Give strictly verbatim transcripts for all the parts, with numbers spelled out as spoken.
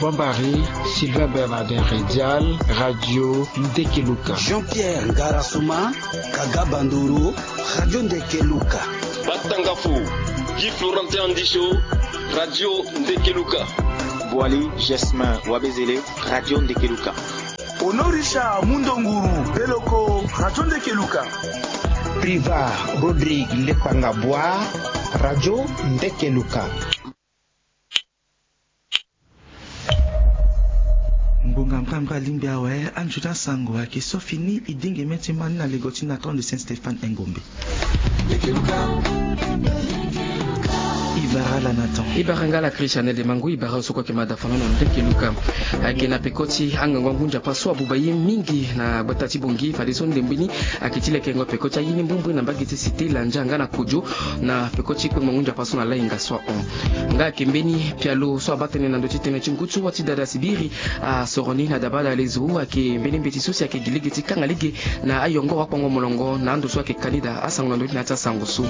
Bambari, Sylvain Bernardin Redial, Radio Ndekeluka. Jean-Pierre Ngarasoma, Kaga Bandoro, Radio Ndekeluka. Batangafo, Guy Florentin Andicho, Radio Ndekeluka. Boali Gesmin Wabezele, Radio Ndekeluka. Honorisha Mundonguru Beloko, Radio Ndekeluka. Priva Rodrigue Lepanga Bois, Radio Ndekeluka. Ngonga mpe mpe alingbi awe, anzoni asango ayeke so fini. E dingi mê ti ma ni na lego ti na temps de Saint Stéphane Engombe. E bara ala na temps. E bara nga ala Christian Ede Mangu, e bara so kue ayeke ma da fano na Ndekeluka. Ayeke na peko ti angangu angu nzapa so abuba ye mingi na gbata ti Bangui, fadeso ndembe ni ayeke ti lekengo peko ti aye ni mbumbui na mbage ti Cité Landia nga na Kodjo, na peko ti kpengbangu nzapa so na lahinga so ahon. Nga ayeke mbeni pialo so abaa tënë na ndö ti tënë ti ngu ti wâ ti dada sibiri asoro ni na dabada lezo, ayeke mbeni mbeti so si ayeke gi lege ti kanga lege na ayongoro akpongo molongo na ando so ayeke ka ni daa asango na ndö ti na ya ti asango so.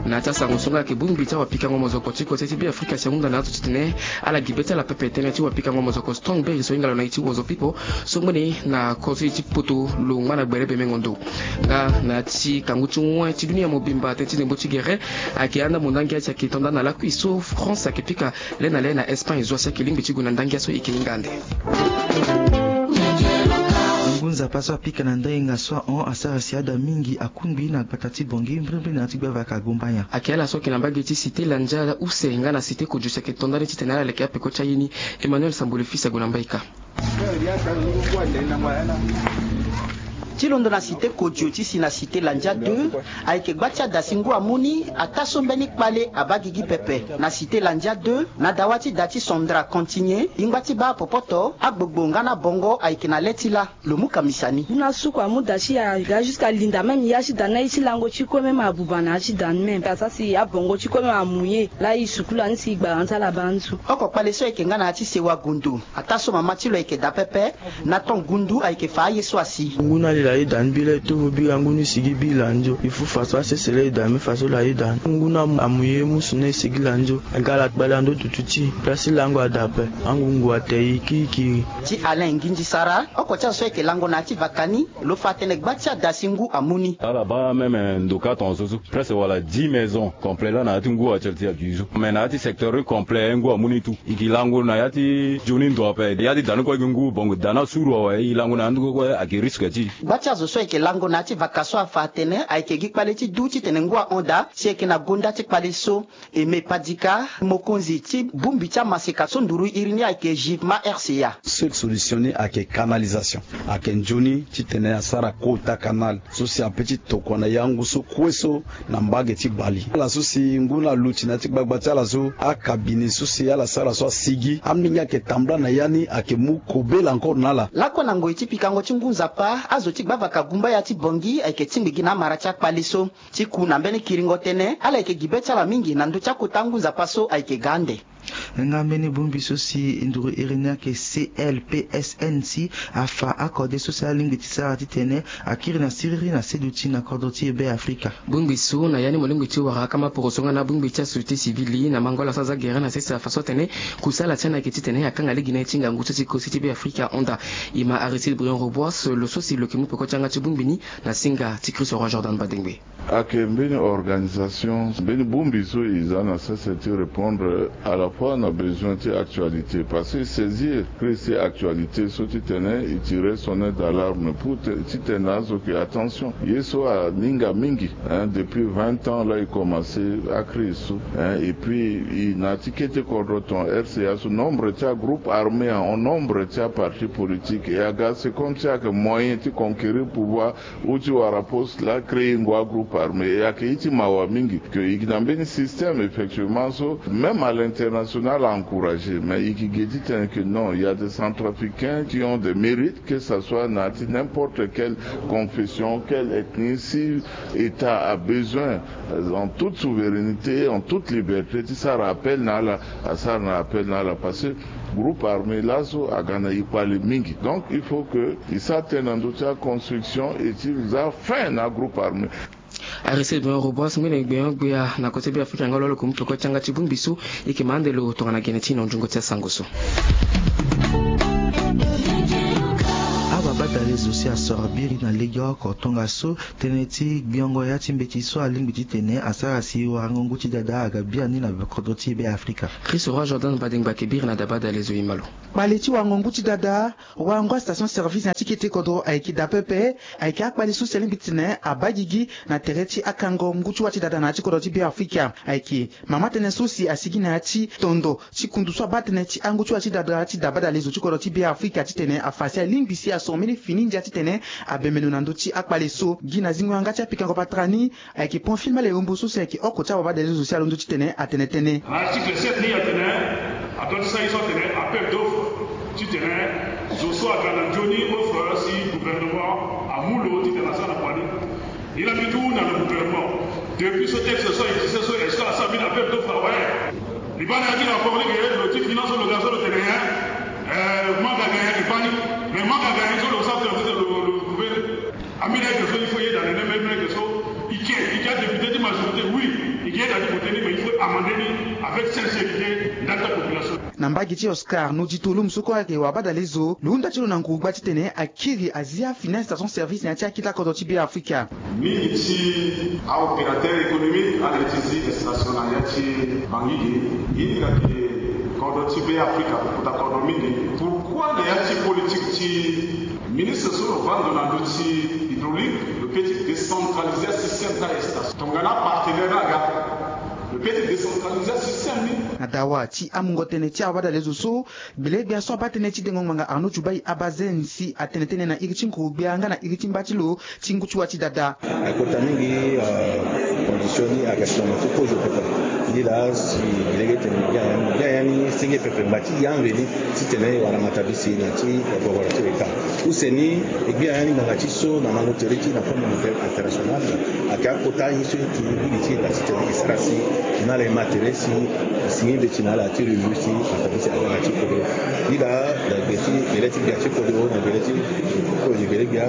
Na ya ti asango so nga ayeke bongbi ti awapikango mozoko ti kose ti Beafrika si ahunda na azo titene ala gi be ti ala pepe tënë ti wapikango mozoko Strong Berry so hinga lo na ye ti Wozo Pipo so ngbene na kose ti poto lo ngba na gbele be mengo ndo. Nga na ya ti kangu ti wen ti dunia mobimba tënë ti ndembo ti gere ayeke andambo ndangia si ayeke to nda na lakui so France ayeke pika le na le na Espagne zo asi ayeke lingbi ti gue na ndangia so e yeke hinga ande. Ngu nzapa so apika na ndainga so ahon asara si ada mingi akungbi na gbata ti Bangui mbrimbri na ya ti gbavaka Gombanya. Ayeke ala so ayeke na mbage ti Cité Landia use nga na Cité Kodjo si ayeke to nda ni titene ala leke apeko ti aye ni. Emmanuel Sambole fils ague na mbaika. Ti londo na Cité Kodjo ti si na Cité Landia deux, ayeke gba ti ada si ngu amu ni ataa so mbeni kpale abaa gigi pepe. Na Cité Landia deux, na dawa ti da ti Sandra Continue, e ngba ti baa popoto, agbogbo nga na bongo ayeke na le ti lâ. Lo mu kamisa ni. Ngu na suku amu da ti ya, ya jusqu'à linda même ya ti da ni aye ti lango ti kue même abuba na ya ti da ni même. Asara si abongo ti kue même amu ye. Laa e sukulu ani si e gbara ni ti ala baa nzu. Oko kpale so ayeke nga na ya ti sewa gondo. Ataa so mama ti lo ayeke daa pepe, na ton gundu ayeke fa aye so asi. Ngu na ali la ye da ni bi la e tovo bira ngu ni sigi bi landio. E fu fa so asese la e da me fa so la ye da ni. Ngu na amu ye musu na e sigi landio. Aga la kpale na ndo dutu ti e. Place ti lango ada ape. Angungu ate e kiri kiri. Ti Alain Nginzi Sara, oko ti azo so ayeke lango na ya ti vaka ni, lo fa atene gba ti ada si ngu amu ni. Ala baa même ndoka tongaso so presque wala dix maisons complètes laa na ya ti ngu ati ti aduit so. Mais na ya ti secteur complet ngu amu ni tout. E ke lango na ya ti nzoni ndo ape. Ya ti da ni kue ayeke ngu bongo da ni asuru awe, e lango na ya ni kue ayeke risque ti e. Gba ti azo so ayeke lango na ya ti vaka so afa atene ayeke gi kpale ti du titene ngu ahon daa si ayeke na gonda ti kpale so. Aimé Padika, mokonzi ti bongbi ti amaseka so nduru iri ni ayeke Givema R C A. Seule solution ni ayeke canalisation. Ayeke nzoni titene asara kota canal so si ape ti tokua na yango so kue so na mbage ti Bali. Ala so si ngu na luti na ya ti gbagba ti ala so, akabine so si ala sara so asigi, amingi ayeke tambula na ya ni ayeke mu kobela encore na ala. Lakue na ngoi ti pikango ti ngu nzapa, azo ti gbavaka gumbaya ti Bangui ayeke tingbi gi na amara ti akpale so. Ti ku na mbeni kiringo tënë, ala yeke gi be ti ala mingi na ndö ti akota ngu nzapa so ayeke ga ande. Nga mbeni bongbi so si e nduru iri ni ayeke C L P S N C afa akode so si alingbi ti sara titene akiri na siriri na seduti na kodro ti e Be Afrika. Bongbi so na ya ni mo lingbi ti wara akama poroso nga na bongbi ti asociété civile na mango ala so aza gere na sese afa so atene kusala ti ani ayeke titene akanga lege na ye ti ngangu so si kosi ti Be Afrika ahon daa. E ma Aristide Briand Robois, lo so si lo yeke mu peko ti yanga ti bongbi ni na singa ti Christ Roi Jordan Badengbe. Ayeke mbeni organisation, mbeni bongbi so e za na sese ti répondre à la fois na besoin ti actualité, parce que e saisir crise ti actualité so titene e tire sonnette d'alarme pour ti tene azo yeke attention. Ye so aninga mingi, hein, depuis vingt ans laa e commencé acrise so, hein, et puis e na ya ti kete kodro ton R C A so nombre ti agroupe armé ahon, nombre ti aparti politique e aga, c'est comme si ayeke moyen ti conquérir pouvoir ou ti wara poste laa créer ngu agroupe armé. E ayeke ye ti mawa mingi que e yeke na mbeni système effectivement so même à l'international a encourager, mais e yeke gi titene que non, il y a des Centrafricains qui ont des mérites, que ça soit na ya ti n'importe quelle confession, quelle ethnie, si État a besoin, euh, en toute souveraineté, en toute liberté, ti sara appel na ala, asara na appel na ala, parce que groupe armé laso aga na e kpale mingi. Donc il faut que e sara tënë na ndö ti aconstruction et ti za fin na agroupe armé. Aristide Briand Robois ngbene gbenyo-gbia na kota Be Afrika nga lo lo yeke mu peko ti yanga ti bongbi so e yeke ma ande lo tongana gene ti e na nzungo ti asango so. Iri na legeoko tongaso tënë ti gbiongo ya ti mbeti so alingbi titene asara si warango ngu ti dada aga biani na kodro ti Be Afrika. Christ Roi Jordan Badengba Kebiri na Dabada Lezo Imalo. Kpale ti warango ngu ti dada, warango astation service na ya ti kete kodro ayeke daa pepe. Ayeke akpale so si alingbi titene abaa gigi na tere ti akango ngu ti wâ ti dada na ya ti kodro ti Be Afrika. Ayeke mama tënë so si asigi na ya ti tondo ti kundu so abaa tënë ti angu ti wâ ti dada ti Dabada Lezo ti kodro ti Be Afrika titene afa si alingbi si aso mbeni fini ndia titene abemeno na ndö ti akpale so. Gi na zingo yanga ti apikango patara ni, ayeke Pamphile Malehombo so si ayeke oko ti awabadale zo si alondo titene atene tënë. Na article sept ni atene, adoit ti sara ye so atene appel d'offre titene zo so aga na nzoni offre si gouvernement amu lo titene asara na kua ni. Ye laa mbi ti hunda na gouvernement, depuis so texte so a existe so, est-ce que asara mbeni appel d'offre awe? Libanda ya ti rapport ni ke lo ti finance so lo ga so lo tene, eh, manque à gagner ayeke baa ni. Mais manque à gagner so lo sara tene lo, lo, lo prouver. Ambeni ayeke so il faut yeda na ni, même ayeke so i ke, i ke adéputé ti majorité, oui, i ke yeda ti voter ni, mais il faut amender ni avec sincérité ndali ti apopulation. Na mbage ti Oscar Nodito Lum so kue ayeke wabadale zo, lo hunda ti lo na nguru-gbia titene akiri azia fini astation service na ya ti akita kodro ti Be Afrika. Mingi ti aopérateur économique ala ye ti zi station na ya ti Bangui ge, e hinga ke kodro ti Be Afrika lo kota kodro mingi. Pourquoi na ya ti politique ti ministre so lo vanda ndo na ndö ti hydraulique, lo peut ti décentraliser asystème ti astation? Tongana apartenaire ni aga, lo peut ti décentraliser asystème ni. Na dawa ti amungo tënë ti awabadale zo so, gbele-gbia so abaa tënë ti dengo ngbanga Arnaud Djoubaye Abazen si atene tënë na iri ti nguru-gbia nga na iri ti mba ti lo ti ngu ti wâ ti dada. Akota mingi, euh, condition ni ayeke si na mo ti kozo pepe. Ni laa si e lege tene gbia ya ni, gbia ya ni senge pepe ngbanga ti yambe ni titene e wara matabisi na ya ti gogoro ti État. Use ni, e gbia ya ni ngbanga ti so na mango tere ti na Fonds Monétaire International ayeke akota ye so e ti gili ti État titene e sara si na ala e ma tere si e sigi mbeti na ala ti revue ti matabisi aga na ya ti kodro. Ni laa na gbe ti gele ti gbia ti kodro, na gele ti kozo gbele-gbia,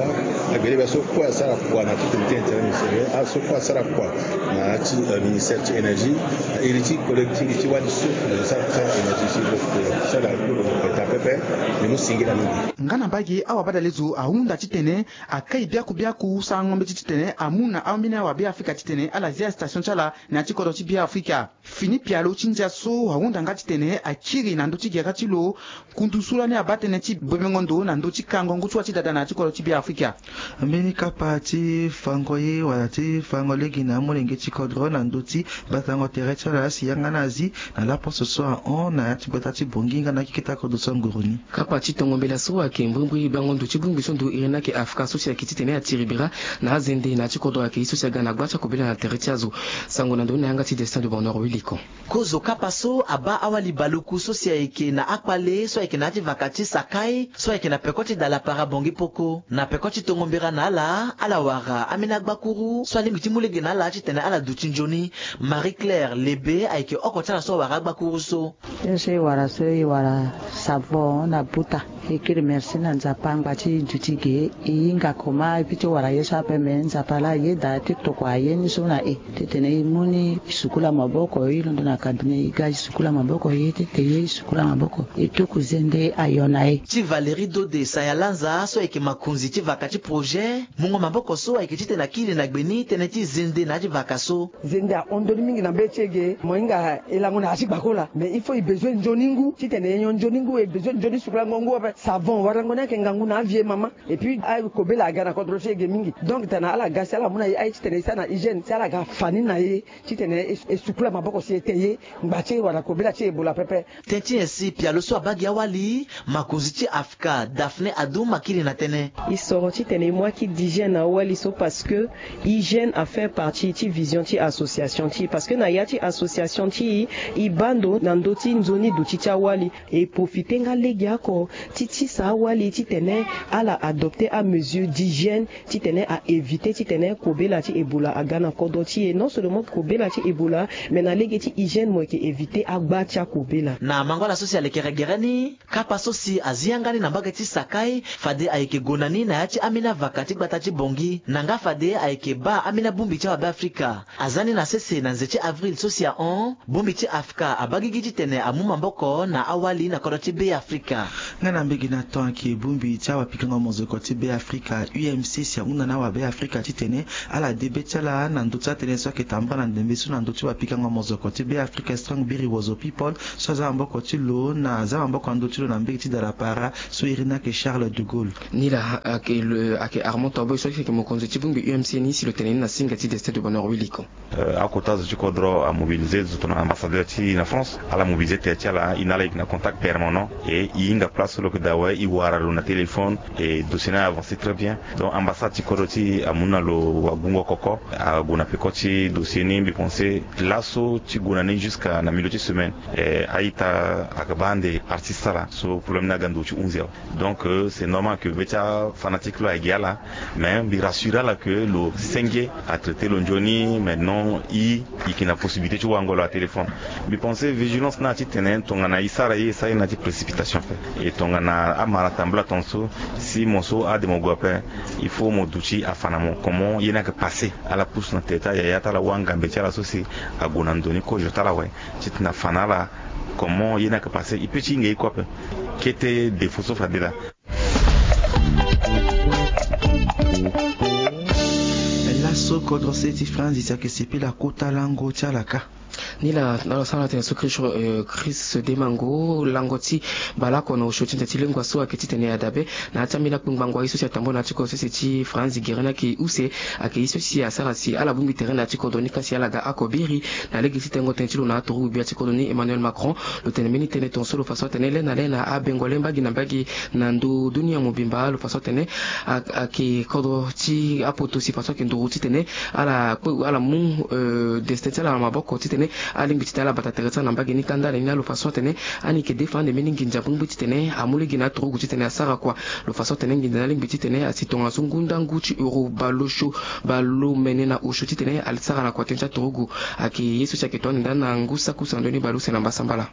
na gbele-gbia so kue asara kua na ti comité interministériel, aso kue asara kua na ya ti, euh, ministère ti énergie, na iri ti collègue ti, ti wali so, euh, sara ti énergie ti lo, euh, sara lo, euh, beta pepe, ni mu singila mingi. Nga na mbage awabadale zo ahunda titene akai biaku biaku sarango mbeti titene amu na ambeni awa Be Afrika titene ala zia station ti ala na ya ti kodro ti Be Afrika. Fini pialo ti ndia so ahunda nga titene akiri na ndö ti gere ti lo kundu so lani abaa tënë ti bomengo ndo na ndö ti kango ngu ti wâ ti dada na ya ti kodro ti Be Afrika. Mbeni kapa ti fango ye wala ti fango lege na amolenge ti kodro na ndö ti batango tere ti ala si yanga ni azi na laposo so ahon na ya ti gbata ti Bangui nga na akeketa kodro so anguru ni. Kapa ti tongo mbela so ayeke mbrimbri bango ndo ti bongbi so ndo iri ni ayeke Afrika so si ayeke titene atiri bira na azende na ya ti kodro ayeke ye so si aga na gba ti akobela na tere ti azo. Sango na ndoni na yanga ti Destin de Bonheur Wiliko. Kozo kapa so abaa awali baluku so si ayeke na akpale so ayeke na ya ti vaka ti Sakai so ayeke na peko ti Dalapara Bangui Poko. Na peko ti tongo mbira na ala, ala wara ambeni agbakuru so alingbi ti mu lege na ala titene ala duti nzoni. Marie Claire Lebe ayeke oko ti ala so awara agbakuru so. Ye so e wara so e wara savon na buta. E kiri merci na Nzapa angba ti duti ge. E hinga koma e pi ti wara ye so ape me Nzapa laa ayeda ti tokua ye ni so na e. Titene e mu ni e sukula maboko, e londo na cabinet e ga e sukula maboko, ye titene e sukula maboko e tuku zende ayo na e. Ti Valérie Dode Sayalanza so ayeke makonzi ti vaka ti projet, mungo maboko so ayeke titene akiri na gbe ni tënë ti zende na ya ti vaka so. Zende ahon ndoni mingi na mbeti e ge, mo hinga e lango na ya ti gbakola. Mais il faut e bezoin nzoni ngu, titene e nyon nzoni ngu, e bezoin nzoni sukulango ngu ape. Savon warango ni ayeke ngangu na avieux mama. Et puis akobela aga na kodro ti e ge mingi. Donc tana ala ga si ala mu na e aye titene e sara na hygiène, si ala ga fa ni na e titene e, e sukula maboko si e te ye. Ngba ti e wala kobela ti e Ebola pepe. Tënë ti nyen si pialo so abaa gi awali, makonzi ti Afrika Daphné Adoum akiri na tënë. E soro titene e mu aki d'hygiène na awali so parce que hygiène a fait partie ti vision ti association ti e, parce que na ya ti association ti e, e baa ndo na ndö ti nzoni duti ti awali. E profite nga legeoko ti tisa awali titene ala adopter amesure d'hygiène titene a éviter titene kobela ti Ebola aga na kodro ti e. Non seulement kobela ti Ebola, mais na lege ti hygiène mo yeke éviter agba ti akobela. Na mango ala so si alekere gere ni, kapa so si azi yanga ni na mbage ti Sakai, fade ayeke gue na ni na ya ti ambeni avaka ti gbata ti Bangui, na nga fade ayeke baa ambeni abongbi ti awabe Afrika. Aza ni na sese na nze ti avril so si ahon, bongbi ti Afrika abaa gigi titene amu maboko na awali na kodro ti Be Afrika. Nga na Lege na temps ayeke bongbi ti awapikango mozoko ti Beafrika, U M C, si ahunda na awabeafrika titene ala de be ti ala na ndö ti atënë so ayeke tambula na ndembe so na ndö ti wapikango mozoko ti Beafrika, Strong Biri Wozo People, so aza maboko ti lo na aza maboko na ndö ti lo na mbege ti Dalapara, so iri ni ayeke Charles de Gaulle. Ni laa ayeke le ayeke Armand Toboy so ayeke mokonzi ti bongbi U M C ni, si lo tene ni na singa ti Destin de Bonheur Wiliko. Akota zo ti kodro amobilize zo tongana ambassadeur ti na France, ala mobilize tere ti ala, e na ala yeke na contact permanent, e e hinga place so lo yeke daa awe, e wara lo na téléphone, e dossier ni avancer très bien. Donc ambassade ti kodro ti e amu na lo wagungo koko, ague na peko ti dossier ni. Mbi pense laso ti gue na ni jusqu'à na milieu ti semaine, e a-ita ayeke baa ande artiste ala so problème ni aga ndo ti hunzi awe. Donc c'est normal que be ti afanatique lo ayeke gi ala, mais mbi rassurer ala que lo senge atraiter lo nzoni. Maintenant e yeke na possibilité ti wango lo na téléphone. Mbi pense vigilance ni atitene tongana e sara ye, e sara ye na ya ti précipitation ape. E tongana amara tambula tongaso, si mo so ade mo gue ape, il faut mo duti afa na mo comment ye ni ayeke passer. Ala pusu na tere ti ayaya ti ala wanga mbe ti ala so si ague na ndo ni kozo ti ala awe, titene afa na ala comment ye ni ayeke passer. E peut ti hinga ye kue ape. Kete défaut so fade laa. Laso kodro se ti France si ayeke sepela kota lango ti ala kâ. Ni laa na lo sara na tene so Chris, Chris Demango, lango ti baleoko na osio ti nze ti lengua so ayeke titene adabe na ya ti ambeni akpengbango aye so si atambula na ya ti kodro sese ti France, gere ni ayeke use, ayeke ye so si asara si ala bongbi tere na ya ti kodro ni kâ si ala ga oko biri. Na lege ti tengo tënë ti lo na aturugu gbia ti kodro ni Emmanuel Macron, lo tene mbeni tënë tongaso lo fa so atene le na le na abengo le mbage na mbage na ndo dunia mobimba, lo fa so atene a- ayeke kodro ti apoto si fa so ayeke nduru titene ala kpe ala mu, euh, destin ti ala na maboko titene alingbi titene ala bata tere ti ala na mbage ni. Kanda ala ni na lo fa so atene ani yeke defa ande mbeni nginza bongbi titene amu lege na aturugu titene asara kua. Lo fa so atene nginza ni alingbi titene asi tongaso ngu ndangu ti euro baleosio, baleomene na osio titene asara na kua tënë ti aturugu. Ayeke ye so si ayeke to ande ndani na ngu saki use na ndoni baleuse na mbasambala.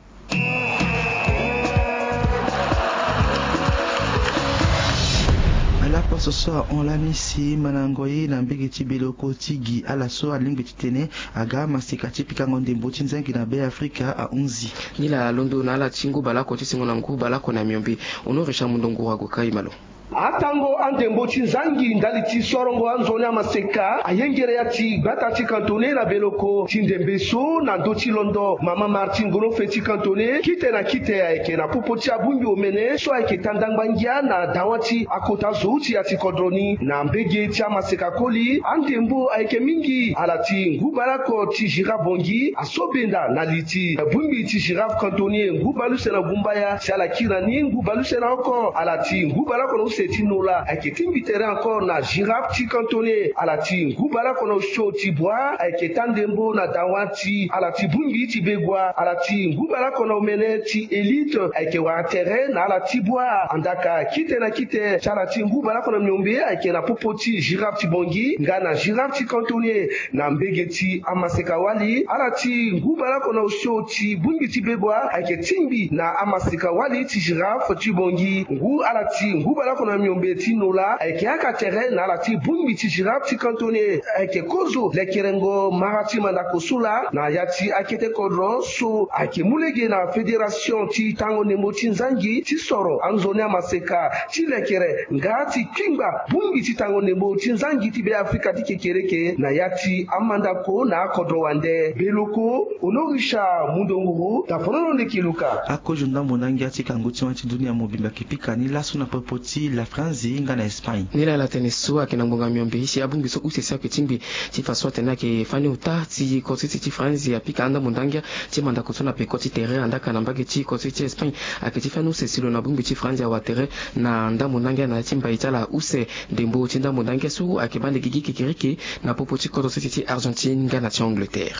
Ala poso so ahon lani si mandango ye na mbege ti Beloko ti gi ala so alingbi titene aga amaseka ti pikango ndembo ti nzangi na Beafrika ahunzi. Nilaa londo na ala ti ngu baleoko ti sengo na ngu baleoko na miombe. Honoré Richard Mundonguru ague kai malo. Atango andembo ti nzangi ndali ti sorongo anzoni amaseka ayengere ya ti gbata ti kantone na Beloko ti ndembe so na ndö ti londo mama Martine Gonofe ti kantone kite na kite ayeke na popo ti abongbi omene so ayeke ta ndangba ngia na dawa ti akota zo ti ya ti kodro ni. Na mbege ti amaseka koli andembo ayeke mingi ala ti ngu baleoko ti Girafe Bongi asobenda na li ti bongbi ti Girafe kantone ngu baleuse na gumbaya si ala kiri na ni ngu baleuse na oko ala ti ngu baleoko na use ti nola ayeke tingbi tere encore na Girafe ti kantone ala ti ngu baleoko na osio ti bua ayeke ta ndembo na dawa ti ala ti bongbi ti begua ala ti ngu baleoko na omene ti élite ayeke wara tere na ala ti bua andaka kite na kite ti ala ti ngu baleoko na miombe ayeke na popo ti Girafe ti Bongi nga na Girafe ti kantone. Na mbege ti amaseka wali ala ti ngu baleoko na osio ti bongbi ti begua ayeke tingbi na amaseka wali ti Girafe ti Bongi ngu ala ti ngu baleoko na miombe ti nola ayeke haka tere na ala ti bongbi ti Girafe ti kantone. Ayeke kozo lekerengo mara ti mandako so laa na ya ti akete kodro so ayeke mu lege na fédération ti tango ndembo ti nzangi ti soro anzoni amaseka ti lekere nga ti kpingba bongbi ti tango ndembo ti nzangi ti Beafrika ti kekereke na ya ti amandako na akodro wande. Beloko, Honoré Richard Mundonguru, tafonono leke luka. Akozo ndambo ndangia ti kangu ti wani ti dunia mobimba ayeke pika ni laso na popo ti la France nga na Espagne. Nilaa ala tene so ayeke na ngbonga miombe si abongbi so use so ayeke tingbi ti fa so atene ayeke fani ota ti kodro sese ti France apika andambo ndangia ti mandako so na peko ti tere andaka na mbage ti kodro sese ti Espagne ayeke ti fani use si lo na bongbi ti France awa tere na ndambo ndangia na ya ti mbai ti ala use. Ndembo ti ndambo ndangia so ayeke baa nde gigi kekereke na popo ti kodro sese ti Argentine nga na ti Angleterre.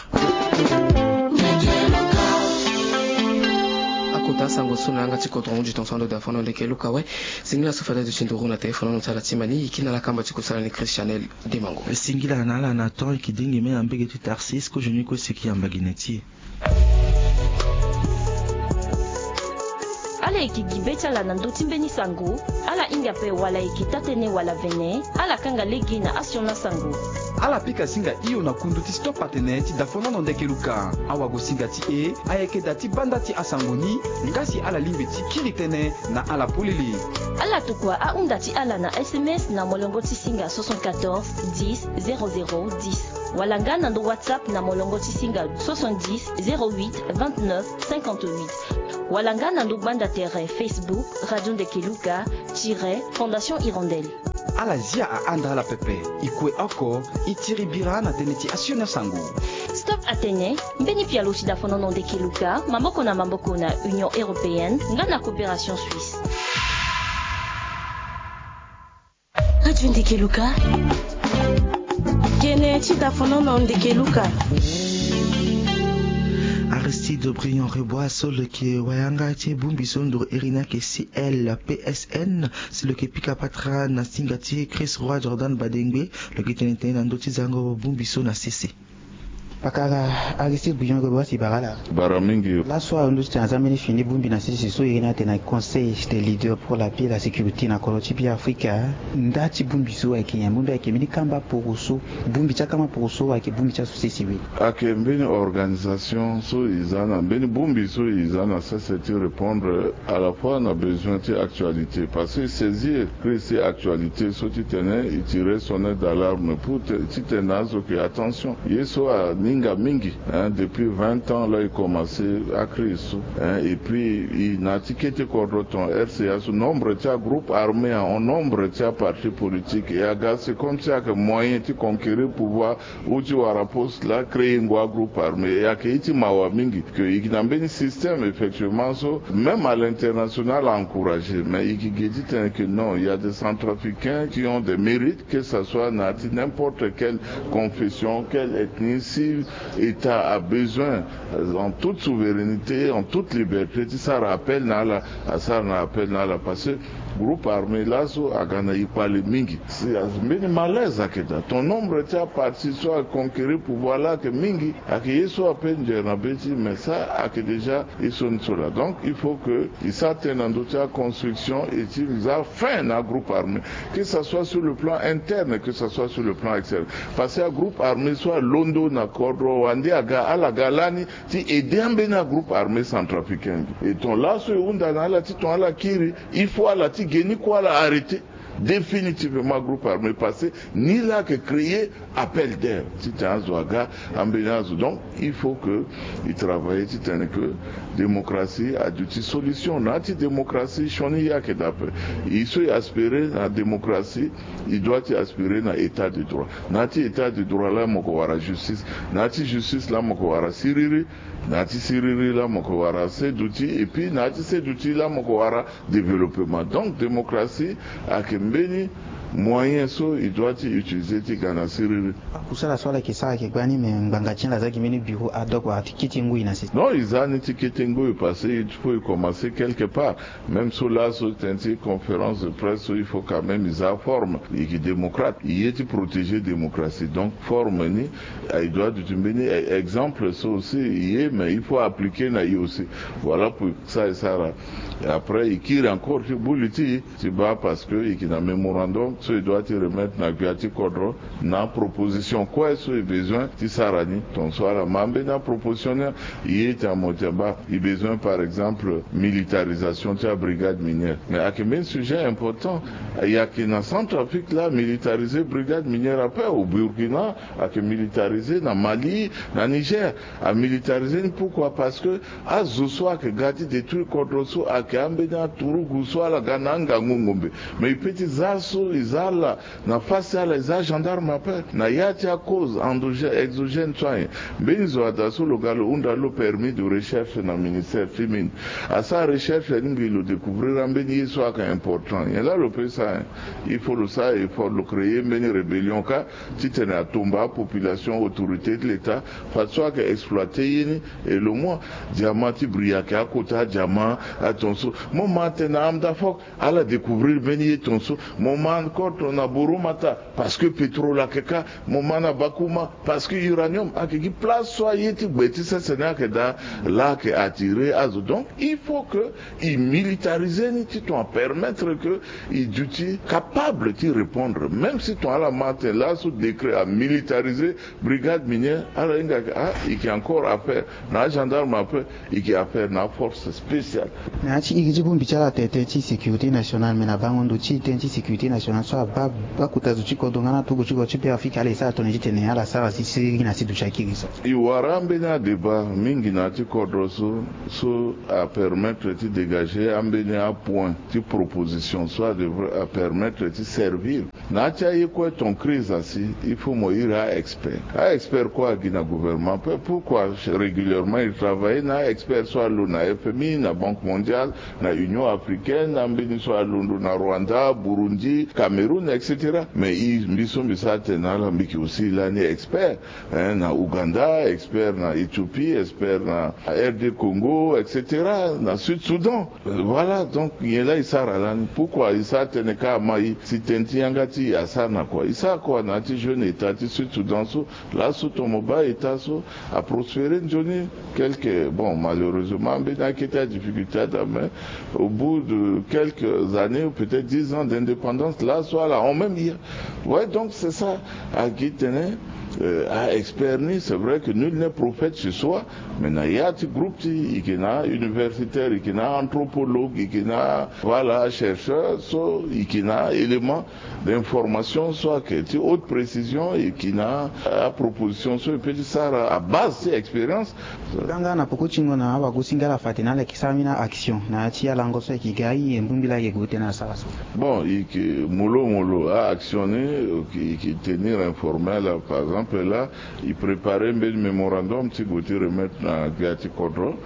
Akota sango so na yanga ti kodro hundi tongaso ando da fono leke luka awe. Singila so fade ado ti nduru na téléphone na ti ala ti mani e kiri na ala kamba ti kusala ni Christianel Demango. Singila na ala na temps e yeke dengi me na mbege ti Tarsis kozo ni kue si e yeke yamba gi na ti e. Ala yeke gi be ti ala na ndö ti mbeni sango. Ala hinga ape wala e yeke taa-tënë wala vene, ala kanga lege na asioni asango. Ala pika singa hio na kundu ti Stop Atene ti dafonono ndeke luka. Awagosinga ti e ayeke daa ti banda ti asango ni, nga si ala lingbi ti kiri tënë na ala polele. Ala tokua ahunda ti ala na S M S na molongo ti singa soixante-quatorze dix zéro zéro dix, wala nga na ndo WhatsApp na molongo ti singa soixante-dix zéro huit vingt-neuf cinquante-huit, wala nga na ndo gbanda tere Facebook Radio Ndeke Luka tiret Fondation Hirondelle. Ala zia ahanda ala pepe, e kue oko, e tiri bira na tënë ti asioni asango. Stop Atene, mbeni pialo ti dafonono ndeke luka, maboko na maboko na Union Européenne nga na Coopération Suisse. Radio Ndeke Luka. Kene ti dafonono ndeke luka. Aristide Briand Rebois so lo yeke wayanga ti bongbi so nduru iri ni ayeke C L P S N, si lo yeke pika patara na singa ti Chris Roy Jordan Badengbe, lo yeke tene tënë na ndö ti zango bongbi so na sese. Pakara Aristide Briand Rebois, si bara ala. Bara mingi. Laso ahon ti tene aza mbeni fini bongbi na sese so iri ni atene na Conseil des leaders pour la paix et la sécurité na kodro ti Beafrika. Nda ti bongbi so ayeke nyen? Bongbi ayeke mbeni kamba poroso? Bongbi ti akamba poroso ayeke bongbi ti aso sese we? Ayeke mbeni organisation so e za na mbeni bongbi so e za na sese ti répondre à la fois na besoin ti actualité, parce que e saisir crise ti actualité so titene e tire sonnette d'alarme pour ti tene na azo ke attention, ye so aninga mingi, hein, depuis vingt ans la e commencé acrise so, hein, et puis e na ti kete kodro ton R C A so nombre ti agroupe armé ahon nombre ti aparti politique, e aga c'est comme si ayeke moyen ti conquérir pouvoir ou ti wara poste la, créer ngo agroupe armé. E ayeke ye ti mawa mingi que e yeke na mbeni système effectivement so même à l'international a encouragé, mais e yeke ge ti tene que non, il y a des Centrafricains qui ont des mérites, que ça soit na ya ti n'importe quelle confession, quelle ethnie, si État a besoin, euh, en toute souveraineté, en toute liberté, ti sara appel na ala, asara na appel na ala, parce que groupe armé laso aga na e kpale mingi. Si azo mbeni malaise ayeke daa, ton nombre ti aparti so aconquérir pouvoir la ayeke mingi, ayeke ye so ape nzere na be ti, mais ça ayeke déjà ye so ni so laa. Donc il faut que e sara tënë na ndö ti aconstruction et ti za fin na agroupe armé, que ça soit sur le plan interne, que ça soit sur le plan externe, parce que agroupe armé so alondo na kodro wande aga, ala ga lani ti aider ambeni agroupe armé centrafricain. Et ton laso e hunda na ala ti ton ala kiri, il faut ala ti ge ni kue ala arrêter définitivement groupe armé, parce que ni la ayeke créer appel d'air ti tene azo aga, ambeni azo. Donc il faut que e travailler ti tene que démocratie aduti solution. Na ya ti démocratie sioni ye ayeke daa ape. E so e aspirer na démocratie, e doit ti aspirer na état de droit. Na ya ti état de droit la mo yeke wara justice. Na ya ti justice la mo yeke wara siriri. Na ya ti siriri la mo yeke wara seduti, et puis na ya ti seduti la mo yeke wara développement. Donc démocratie ayeke mbeni moyen so e doit ti utiliser ti ga na siriri. Akusala so ala yeke sara ayeke gbani, me ngbanga ti ala aza gi mbeni bureau ad hoc wala ti kete ngoi na sese? Non, e za ni ti kete ngoi parce que il faut e commencer quelque part. Même so laso tënë ti conférence de presse so, il faut quand même e za forme. E yeke démocrate, e ye ti protéger démocratie. Donc forme ni, e doit duti mbeni e-, exemple so aussi e ye, mais il faut appliquer na e aussi. Voilà pour ça e sara. Et après e kiri encore ti buli ti e ti baa, parce que e yeke na mémorandum so e doit ti remettre na gbia ti kodro na proposition kue so e besoin ti sara ni. Ton so ala ma mbeni aproposition ni, e ye ti amo ti abaa, e besoin par exemple militarisation ti abrigade minière. Mais ayeke mbeni sujet important. E yeke na Centrafrique la militariser brigade minière ape, au Burkina ayeke militariser, na Mali, na Niger amilitariser ni. Pourquoi? Parce que azo so ayeke ga ti détruire kodro so ayeke ambeni aturugu so ala ga na angangu ngombe. Mais e peut ti za so e za ala na face ti ala, e za gendarme ape. Na ya ti acause endogène, exogène so ayen, mbeni zo ada so lo ga lo hunda lo permis de recherche na ministère ti mine. Asara recherche ni ngbii, lo découvrir ambeni ye so ayeke important, nyen la lo peut sara? Il faut lo sara effort, lo créer mbeni rébellion kâ ti tene atumba apopulation, autorité ti l'État, fadeso ayeke exploiter ye ni. Et lo mu adiamant ti bri ayeke akota adiamant, atonso. Mo ma atene na Ham Dafok ala découvrir mbeni ye tonso. Mo ma Koto na Boromata, parce que pétrole ayeke kâ. Mo ma na Bakouma, parce que uranium ayeke gi. Place so aye ti gbe ti sese ni ayeke daa, laa ayeke attirer azo. Donc il faut que e militariser ni titene apermettre que e duti capable ti répondre. Même si tongana ala ma tene laso décret amilitariser brigade minière, ala hinga ayeke, ah, e yeke encore affaire na agendarme, après e yeke affaire na aforce spéciale. Na ya ti iri ti bongbi ti ala tene tënë ti sécurité nationale, me na bango ndo ti tënë ti sécurité nationale so abaa bakota zo ti kodro nga na aturugu ti kodro ti Beafrika, ala e sara tongana titene ala sara si siriri na ya ti duti akiri so. E wara ambeni adébat mingi na ya ti kodro so, so apermettre ti dégager ambeni apoint ti proposition so adevrait apermettre ti servir. Na ya ti aye kue ton crise asi, il faut mo iri a-expert. A-expert kue agi na gouvernement ape. Pourquoi régulièrement e travailler na a-expert so alondo na F M I, na Banque mondiale, na Union africaine, na ambeni so alondo na Rwanda, Burundi, Cameroun, et cetera. Mais e, mbi so mbi sara tene na ala, mbi yeke aussi lani expert, hein, na Ouganda, expert na Éthiopie, expert na R D Congo, et cetera, na Sud Soudan. Voilà, donc nyen laa e sara lani? Pourquoi e sara tënë ka ama e si tënë ti yanga ti e asara na kua? E sara kua na ya ti jeune État ti Sud Soudan so, laso tongana mo baa État so aprospérer nzoni. Quelques, bon, malheureusement, ambeni akete adifficulté adaa, mais au bout de quelques années, ou peut-être dix ans d'indépendance, laso ala hon même ya. Ouais, donc c'est ça. Agi tene, euh, a-expert ni, c'est vrai que nul n'est prophète chez soi, mais na ya ti groupe ti e, e yeke na universitaire, e yeke na anthropologue, e yeke na, voilà, chercheur, so e yeke na élément d'information so ayeke ti haute précision, e yeke na aproposition so e peut ti sara à base ti expérience. Nga nga na poko ti ngon na awagosinga ala fa atene ala yeke sara mbeni action na ya ti alango so ayeke ga aye, mbongbi laa ayeke gue tënë asara so. Bon, e yeke molomolo a-action ni, e yeke tenir informé ala. Par exemple laa e préparer mbeni mémorandum ti gue ti remettre na gbia ti kodro.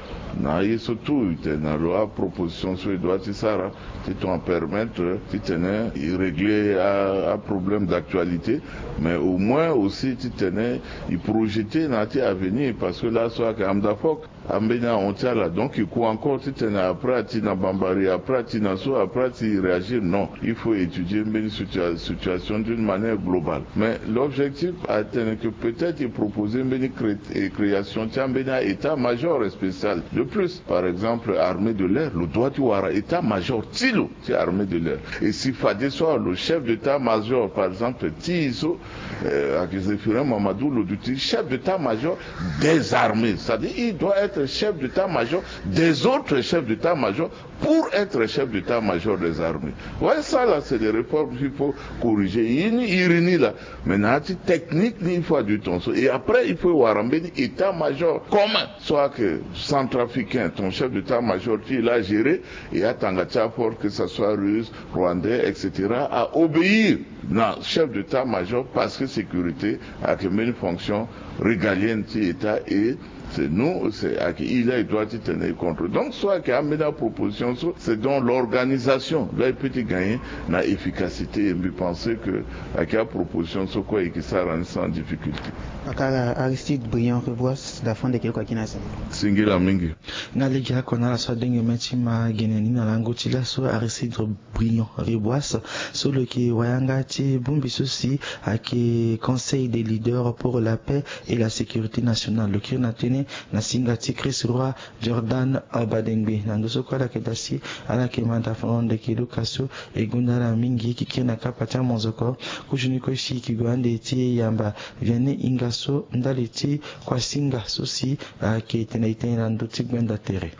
Na aye so tout e tene na lo, aproposition so e doit ti sara titene apermettre titene e régler a, aproblème d'actualité, mais au moins aussi titene e projeter na ya ti avenir, parce que laso ayeke Hamdafok, ambeni ahon ti ala. Donc e ku encore titene après ati na Bambari, après ati na so, après ati réagir. Non, il faut étudier mbeni situa-, situation d'une manière globale. Mais l'objectif atene que peut-être e proposer mbeni cré-, e création ti ambeni a-état-major spécial de plus. Par exemple, armée de l'air, lo doit ti wara état-major ti lo ti armée de l'air. Et si fadeso lo chef d'état-major, par exemple, ti e so, euh, ayeke Zéphirin Mamadou, lo duti chef d'état-major des armées. C'est-à-dire, il doit être chef d'état-major des autres chefs d'état-major pour être chef d'état-major des armées. Ouais, ça là, c'est des réformes qu'il faut corriger. E ni, e iri ni laa. Mais na ya ti technique ni, il faut adu tongaso. Et après, il faut wara mbeni état-major commun. Soit que centrafricain, ton chef d'état-major ti e laa a gérer, et atanga ti aforce, que ça soit russe, rwandais, et cetera, a obéir na chef d'état-major, parce que sécurité ayeke mbeni fonction régalienne ti état, et c'est nous, c'est ayeke e laa e doit titene e contrôler. Donc so ayeke ambeni aproposition so, c'est dans l'organisation laa e peut ti gagner na efficacité, et mbi pense que ayeke aproposition so kue e yeke sara ni sans difficulté. Aka Aristide Briand Reboise, dafande kele kua kina singila mingi. Nga lege oko na ala so adenge mê ti ma gene ni na lango ti laso, Aristide Briand Reboise, so lo yeke wayanga ti bongbi so si ayeke Conseil des leaders pour la paix et la sécurité nationale. Lo kiri na tënë na singa ti Chris Roy Jordan Badengbe. Na ndo so kue ala yeke daa si ala yeke manda fano ndeke luka so e gonda ala mingi, e yeke kiri na kapa ti amonzoko. Kozoni kue si e yeke gue ande ti e yamba Vianney Ingasso ndali ti kuasinga so si ayeke tene e tene na ndö ti gbenda tere.